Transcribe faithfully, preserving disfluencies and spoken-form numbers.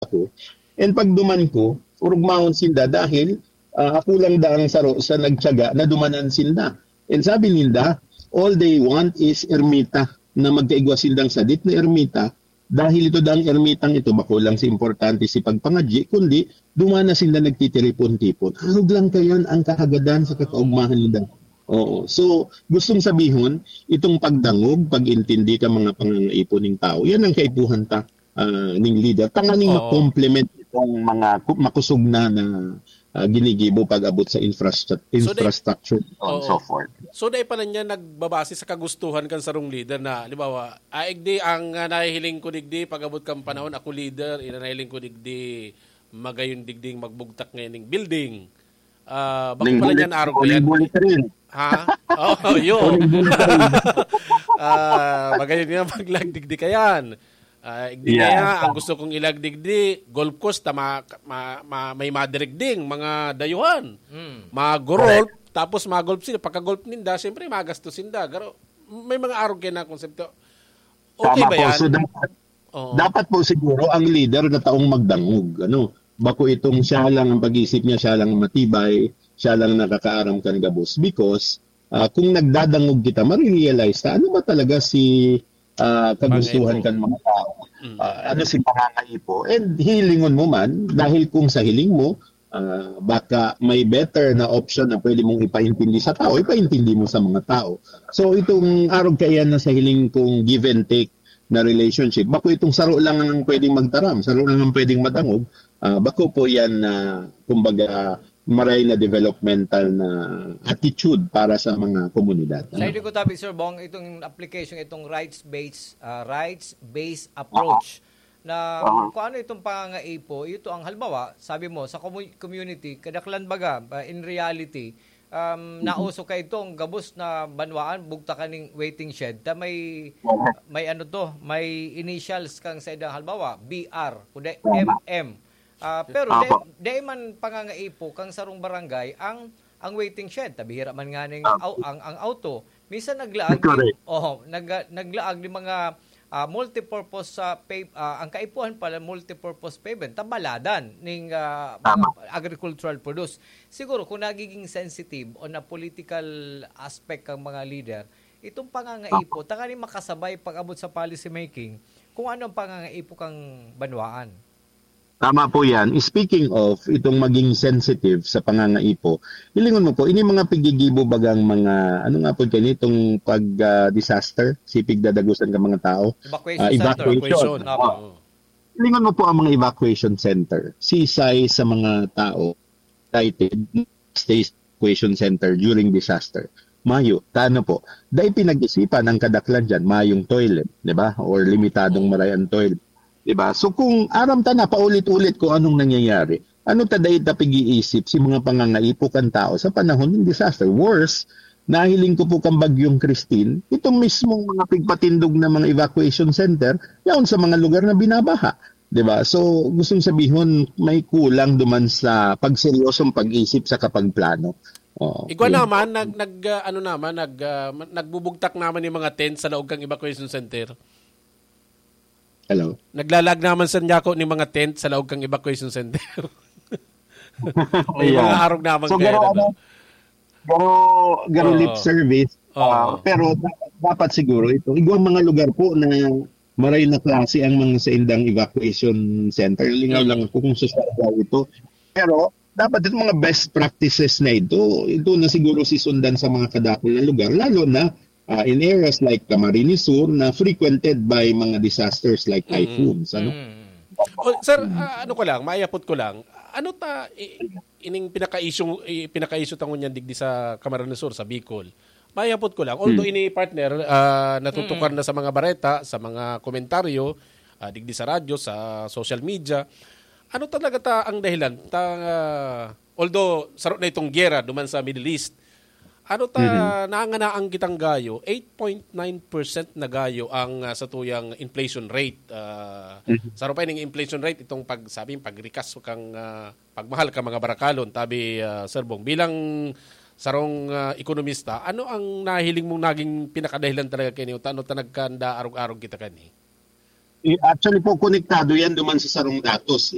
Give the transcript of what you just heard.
ako. And pag duman ko, urugmahon sinda dahil, ah, ako lang daang saro sa nagtiyaga na dumanan sinda. And sabi ninda, all they want is ermita, na magkaigwa sindang sadit na ermita, dahil ito daang ermitang ito, bako lang si importante si pagpangadyi, kundi duman na sinda nagtitiripon-tipon. Arog lang kayan ang kahagadan sa kakaugmahan ninda. Oo. So, gustong sabihon, itong pagdangog, pag-intindi ka mga pangangaipon ning tao, yan ang kaipuhan ta, ah, ning leader. Tanganing Oo. ma-complement itong mga ku-, makusog na na, ah, ginigibo pag-abot sa infrastru-, So, they infrastructure, so on and Oo. so forth. So, dai pa na niya nagbabase sa kagustuhan kan sarong leader na, halimbawa, "Ah, igdi ang, ah, nahihiling ko digdi, pag-abot kan panahon, ako leader, ina nahihiling ko digdi, magayon digding magbugtak ngayon ning building." Ah, bako Ning pala bullet, niyan arog pa ning yan. bullet train. Ha? Oo, yun. Ning bullet train. Ah, magayon nga maglagdig di kayan. Ah, igdi Yeah. kaya, ang gusto kong ilagdig di, golf course, ta ma-, ma-, ma-, may madirigding, mga dayuhan. Mm. Mag-golf, Correct. tapos mag-golf sila. Pagka-golf ninda, siyempre, magastos sinda. Pero may mga arog kayo na konsepto. Okay Tama ba po. yan? So, dapat, Oo. dapat po siguro ang leader na taong magdangog. Ano? Bako itong siya lang ang pag-iisip niya, siya lang ang matibay, siya lang nakakaaram kan gabos. Because, ah, kung nagdadangog kita, marirealize ta, ano ba talaga si, ah, kagustuhan Pangaipo. kan mga tao? Mm. Ah, ano si pangangaipo? And hilingon mo man, dahil kung sa hiling mo, ah, baka may better na option na pwede mong ipaintindi sa tao, ipaintindi mo sa mga tao. So, itong arog kaiyan na sa hiling kong give and take na relationship, bako itong saro lang ang pwedeng magtaram, saro lang ang pwedeng madangog, ah, bako po yan na, kumbaga, maray na developmental na attitude para sa mga komunidad. Sa Ano? hindi ko tabi, Sir Bong, itong application, itong rights-based, ah, rights-based approach na Aha. kung ano itong pangangaipo, ito ang halimbawa, sabi mo, sa commu-, community, kadaklan baga, ah, in reality, um, Mhm. nauso ka itong gabos na banwaan, bugtakan ning waiting shed, ta may, Aha. may ano to, may initials kang sa idang halimbawa, B R, kundi Tama. M M. Ah, pero Apo. dai, dai man pangangaipo kang sarong barangay ang, ang waiting shed. Tabihira man nga ning Apo. au-, ang, ang auto. Minsan naglaag Correct. ni, oh, nag-, naglaag ni mga, ah, multipurpose sa pay, ah, ang kaipuhan pala multipurpose pavement, tabaladan ning, ah, mga Tama. agricultural produce. Siguro kung nagiging sensitive o na political aspect kang mga leader, itong pangangaipo, Apo. tanganing makasabay pag-abot sa policy making, kung ano ang pangangaipo kang banwaan. Tama po yan. Speaking of itong maging sensitive sa pangangaipo, hilingon mo po, ini mga pigigibo bagang mga, ano nga po kanitong pag, ah, disaster, sipig dadagusan ka mga tao, Evacuation ah, center. evacuation. Evacuation, Ah, apo. hilingon mo po ang mga evacuation center. Sisay sa mga tao, excited, stay evacuation center during disaster. Mayo, tano po. Dai pinag-isipan ang kadaklan dyan, mayong toilet, di ba? Or limitadong maray ang toilet, di ba? So kung aram ta na paulit-ulit kung anong nangyayari, ano ta dai ta pag-iisip si mga pangangaipo kan tao sa panahon ng disaster? Worse, nahiling ko po kang Bagyong Christine, itong mismong mga pigpatindog na mga evacuation center, yaon sa mga lugar na binabaha. Di ba? So, gustong sabihon, may kulang duman sa pagseryosong pag-isip sa kapagplano. Oo. Igwa Yun. naman, nag, nag, ah, ano naman, nag, ah, ma-, nagbubugtak naman yung mga tent sa laog kang evacuation center. Hello? Naglalag naman sa Nyako ni mga tent sa laog kang evacuation center. May Yeah. mga arog naman So, kaya garo, na ba? ano, garo, garo Oo. lip service. Oo. Ah, pero da-, dapat siguro ito, igwang mga lugar po na maray na klase ang mga saindang evacuation center. Lingaw Mm. lang ako kung sa Surigao ito. Pero dapat itong mga best practices na ito, ito na siguro sisundan sa mga kadakul na lugar, lalo na, ah, in areas like Camarines Sur na frequented by mga disasters like Mm. typhoons, ano? Mm. Oh, sir, Mm. ah, ano ko lang, maayapot ko lang, ano ta, i-, ining pinaka-issue, i-, pinaka-issue ta ngunyan digdi sa Camarines Sur, sa Bicol? Maayapot ko lang, although Hmm. ini partner, ah, natutukar Hmm. na sa mga bareta, sa mga komentaryo, ah, digdi sa radyo, sa social media, ano talaga ta ang dahilan? Ta, ah, although saro na itong giyera duman sa Middle East, ano ta Mhm. nanganaan kitang gayo, eight point nine percent na gayo ang, ah, satuyang inflation rate. Ah, Mhm. saro pa ining inflation rate, itong pag, sabi, pagrikas kang, ah, pagmahal ka mga barakalon, tabi, ah, Sir Bong. Bilang sarong, ah, ekonomista, ano ang nahiling mong naging pinakadahilan talaga kini? Ano ta nagkanda arog-arog kita kani? Eh, actually po, konektado yan duman sa sarong datos.